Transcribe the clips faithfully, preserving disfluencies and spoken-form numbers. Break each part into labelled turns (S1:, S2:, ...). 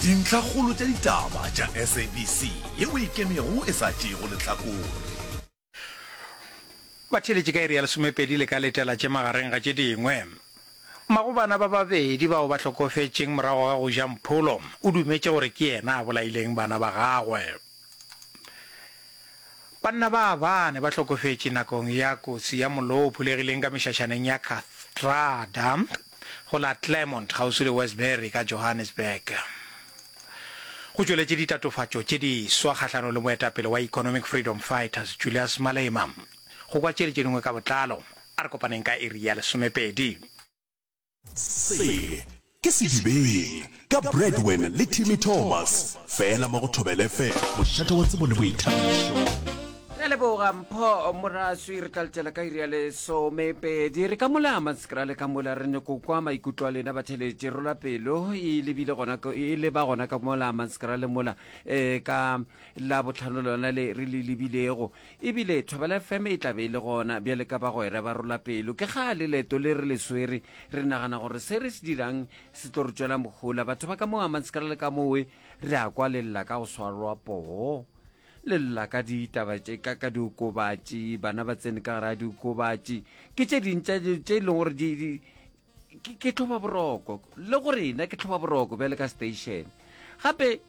S1: Dintlhakgolo tša ditaba tša S A B C yeo e ikemego e sa tšeego lehlakore.
S2: Batheeletši ka iri ya lesomepedi le ka letela tše magareng ga tše dingwe. Mmago bana ba babedi bao ba hlokofetšeng morago ga go ja mpholo o dumetše gore ke yena a bolaileng bana ba gagwe. Banna ba bane ba hlokofetše nakong ya kotsi ya mollo wo o phulegileng ka mešašaneng ya Kathrada go la Claremont kgauswi le Westbury ka Johannesburg. Go tšweletše ditatofatšo tše diswa kgahlanong le moetapele wa Economic Freedom Fighters Julius Malema. Go kwa tše le tše dingwe ka botlalo, a re kopaneng ka iri ya lesomepedi.
S1: Se ke Sedibeng ka Bradwin le Timmy Thomas, fela mo go Thobela F M, mošate wa tsebo le boithabišo.
S3: Re a leboga Mpho Moraswi, re tla letela ka iri ya lesomepedi. Re ka mola Hammanskraal ka mola re nyako kwa maikutlo a lena batheletši. Rola pelo e lebile gona e leba gona ka mola Hammanskraal mola eh, ka la botlhano lona le re le lebilego. Ebile Thobela F M e tla be e le gona bjale ka bagwera ba rola pelo. Ke kgale leeto le re le swere, re nagana gore se re se dirang se tlo re tšwela mohola. Batho ba ka mo Hammanskraal ka mowe re a kwa le lla ka go swarwa poo, le lla ka ditaba tše ka ka diokobatši, bana ba tsene ka gare ga diokobatši. Ke tše ding tša tše e leng gore di, di ke, ke tlhoba boroko le go rena, ke tlhoba boroko bjale ka station. Gape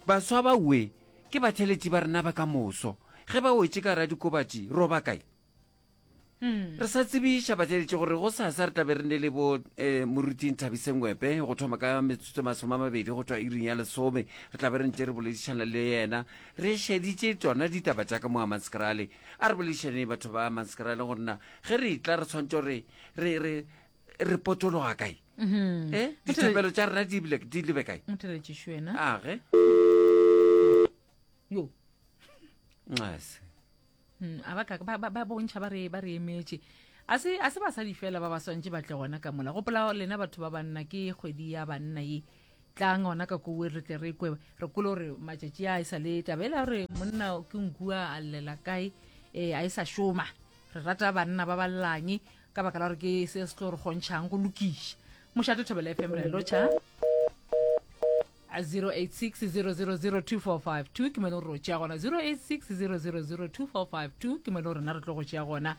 S3: baswa ba we ke batheletši ba rena ba ka moso, ge ba wetše ka gare ga dikobatši roba kae? Re sa tsebiša batheletši gore go sasa re tlabe re ne le bo um moruti Nthabise Ngwepe go thoma ka metsotso masome a mabedi go tšwa iring ya lesome. Re tlabe re ntse re boledišana le yena, re šeditše tsona ditaba tša ka mo Hammanskraal. A re boledišaneng batho ba Hammanskraal gore na ge re tla re tshwanetse gore re re re potologa kae, e dithapelo tša rena di bile di lebe kae.
S4: Motheletšišo wena.
S3: Age.
S4: Yo.
S3: Nxase.
S4: Mm, a ba ka ba ba- ba bontšha ba re ba re emetše. A se a se basadi fela ba ba swantše ba tle gona ka mola. Gopola lena batho ba banna, ke kgwedi ya banna ye. Tlang gona ka kowe re tle re kwe, re kole gore matšatši a e sa le taba ela gore monna ke nkua a llela kae, um a e sa šoma. Re rata banna ba ballang ka baka la gore ke se se tlo re kgontšhang go lokiša mošate. Thobela F M, re lotšha. zero eight six zero zero zero two four five two ke mo e leng gore o tšea gona. zero eight six zero zero zero two four five two ke mo e leng gore rena re tlo go tšea gona,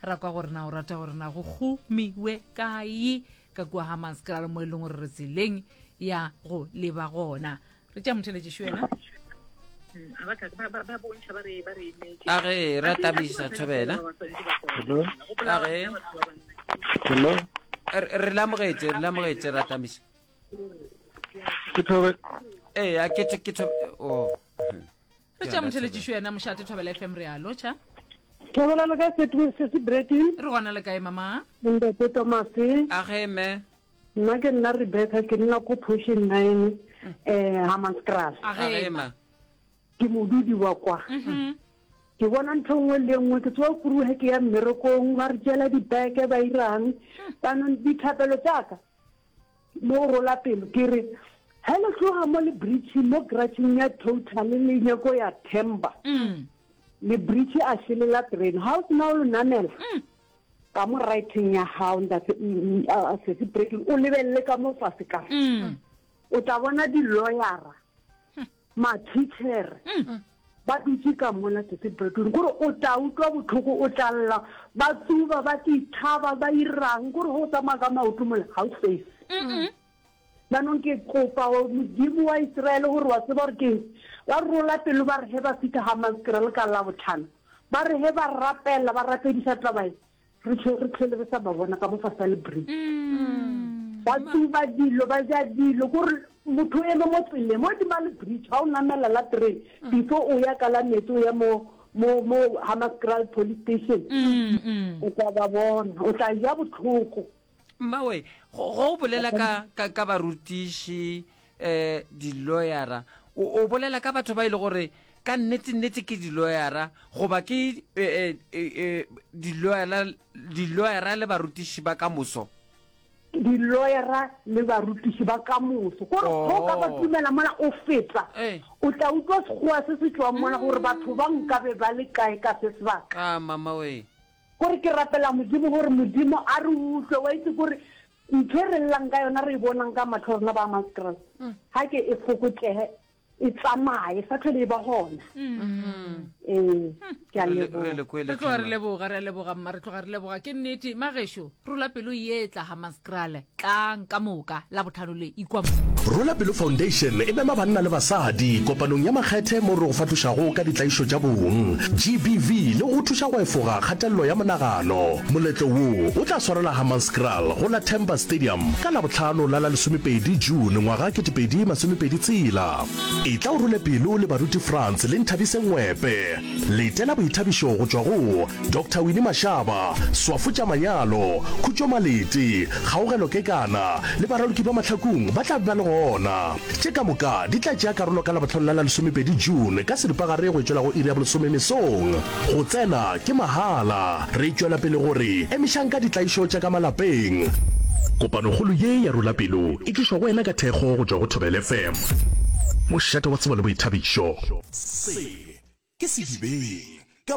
S4: ra kwa gore na o rata gore na go gomiwe kae ka kua Hammanskraal mo e leng gore re tseleng ya go leba gona. Re tšea motheletšišo wena.
S3: Age, ra tabisa Thobela. Age.
S5: Hello.
S3: re re le amogetše, re le amogetše, ra tamisa.
S5: Ke Thobe.
S3: Ee, a ke ke Thobe o.
S4: Re tšea motheletšišo yena mošate. Thobela F M, re a lotšha.
S6: Thobela le ka sesi Bretin.
S4: Re gona, le kae mama?
S6: Ntate Thomas.
S3: Age me.
S6: Nna ke nna Rebecca, ke nna ko Portion nine um Hammanskraal.
S3: Age ma.
S6: Ke modudi wa kwa. Ke bona ntho nngwe le nngwe, ke tsoa kuruge ke ya mmerekong, ba re tšela dibeke ba irang. Banong dithapelo tšaka mo go rola pelo ke re ge le tloga mo le bridge mo garageng ya Total le nyako ya Temba, le bridge a šelela train ga o sena o le namela ka mo righteng ya gago, ntate sesi Breaking, o lebelele ka mo fase ka o tla bona di-lawyera, ma-teachere ba dutse ka mona. Sesi Breaking, kore o tla utlwa botlhoko, o tla lla. Ba tsuba, ba tithaba, ba irang, kore go tsamaya ka maoto mole ga o safe. Jaanong ke kopa Modimo wa Israele gore wa tseba gore keng, ba rola pelo ba re ge ba fitlha Hammanskraal ka Labotlhano, ba re ge ba rapela ba rapedisa taba e re tlhole re sa ba bona ka mo fase le bridge ba tsuba dilo, ba ja dilo, kore motho o eme mo tseleng mo dima le bridge ga o namela la train before o ya ka la metsi o ya mo mo mo Hammanskraal police station, o tla ba bona, o tla ja botlhoko.
S3: Mmawe, go go bolela ka ka ka barutiši, eh di-lawyera, o o bolela ka batho ba ile gore ka nnete nnete ke di-lawyera goba ke eh, eh, eh, di-lawyera di-lawyera le barutiši ba ka moso?
S6: Di-lawyera le barutiši ba ka moso, kore go ka ba tumela mola o feta o tla utlwa sekgowa se se tswang mola gore batho ba nkabe ba le kae ka se sebaka.
S3: Ah, mama we.
S6: Kore ke rapela Modimo gore Modimo a re utlwe, wa itse kore Ntho e re llang ka yona re e bonang ka mahlo a rena ba Hammanskraal, ga ke e fokotsege e tsamaye, e sa tlhole e ba gona. Ee, ke a
S3: Re le-
S6: leboga.
S3: re le kwele
S4: Re tloga re
S3: tlhe, ma.
S4: leboga, re a leboga mma, re tloga re leboga. Ke nnete, magešo, rola pelo ye tla Hammanskraal, tlang ka moka, Labohlano le, ikwa mo.
S1: Rola Pelo Foundation e mema banna le basadi kopanong ya makgethe mo re go fahlošago ka ditlaišo tša bong, G B V, le go go thuša go efoga kgatelelo ya monagano. Moletlo wo o tla swarelwa Hammanskraal go la Themba Stadium ka Labohlano la la lesomepedi June ngwaga ketepedi masomepedi tshela. Etla o role pelo le baruti Frans le Nthabiseng Ngwepe. Letela boithabišo go tšwa go Doctor Winnie Mashaba, Swafo tša Manyalo, Khutšo Malete, Kgaogelo Kekana le baraloki ba Mahlakung ba tla be ba le gona. Tše ka moka di tla tšea karolo ka Labohlano la la lesomepedi June ka seripagare go e tšwela go iri ya bolesome mesong. Go tsena ke mahala. Re tšwela pele go re emišang ka ditlaišo tša ka malapeng. Kopanokgolo ye ya Rola Pelo e tlišwa go wena ka thekgo go tšwa go Thobela F M, mošate wa tsebo le boithabišo. Se ke Sedibeng.